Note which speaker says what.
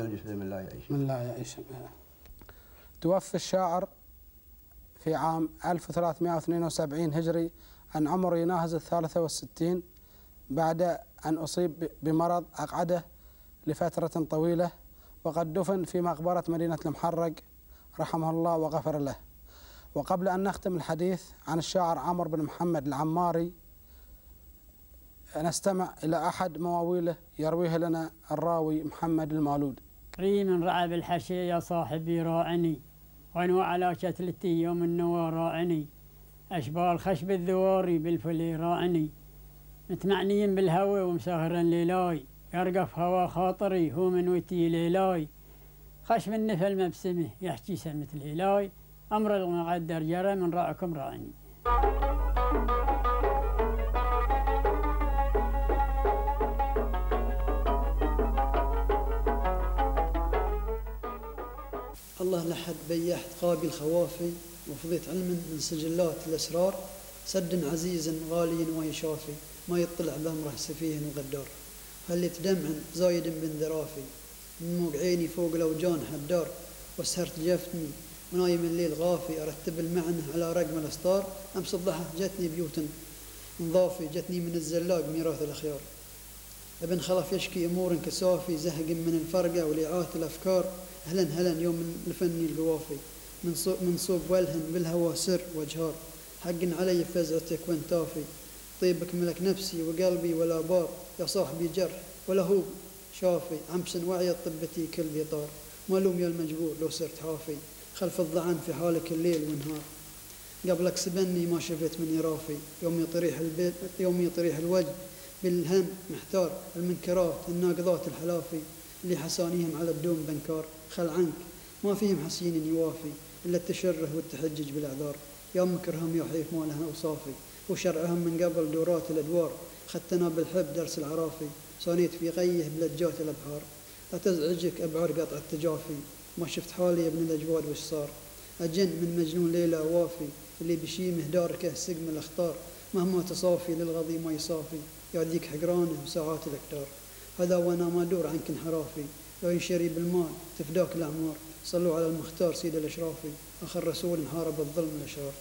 Speaker 1: من لا يعيش. توفي الشاعر في عام 1372 هجري عن عمر يناهز 63 بعد أن أصيب بمرض أقعده لفترة طويلة، وقد دفن في مقبرة مدينة المحرق رحمه الله وغفر له. وقبل أن نختم الحديث عن الشاعر عمرو بن محمد العماري، نستمع إلى أحد مواويله يرويه لنا الراوي محمد المالود.
Speaker 2: ريم رعى بالحشي يا صاحبي راعني، وانو على شتلتي يوم النوى راعني، أشبال خشب الذواري بالفلي راعني، متمعنيين بالهوى ومسهرا ليلاي، يرقف هوا خاطري هو من وتي ليلاي، خشب النفل مبسمه يحكي سمة الهلاي، أمر المقدر جرى من رأكم راعني.
Speaker 3: الله لحد بيحت قابل خوافي، وفضيت علما من سجلات الأسرار، سد عزيز غالي وهي شافي، ما يطلع بأمره سفيه وغدار، هلت دمع زايد بن ذرافي، من موج عيني فوق الأوجان حدار، وسهرت جفني ونايم الليل غافي، أرتب المعنى على رقم الأسطار، أمس الضحى جتني بيوت نظافي، جتني من الزلاق ميراث الأخيار، ابن خلف يشكي أمور كسافي، زهق من الفرقة ولعات الأفكار، هلا يوم الفني القوافي، من صوب والهن بالهوى سر وجهار، حق علي فزعتك وانتافي، طيبك ملك نفسي وقلبي ولا بار، يا صاحبي جرح ولا هو شافي، عمسن وعي طبتي كل بيطار، مالوم يا المجبور لو صرت حافي، خلف الضعن في حالك الليل والنهار، قبلك سبني ما شفت من يرافي، يوم يطريح الوجه بالهم محتار، المنكرات الناقضات الحلافي، اللي حسانيهم على الدوم بنكار، خل عنك ما فيهم حسين يوافي، إلا التشره والتحجج بالأعذار، يا مكرهم يحيف ما لها أوصافي، وشرعهم من قبل دورات الأدوار، خدتنا بالحب درس العرافي، صانيت في غيه بلجات الأبحار، لا تزعجك أبعر قطع التجافي، ما شفت حالي يا ابن الأجواد وش صار، أجن من مجنون ليلة وافي، اللي بشيمه داركه سقم الأخطار، مهما تصافي للغضي ما يصافي، يعديك حقرانه وساعات الأكتار، هذا وانا ما دور عنك انحرافي، لو ينشري بالمال تفداك الأعمار، صلوا على المختار سيد الأشرافي، آخر رسول حارب الظلم الأشرار.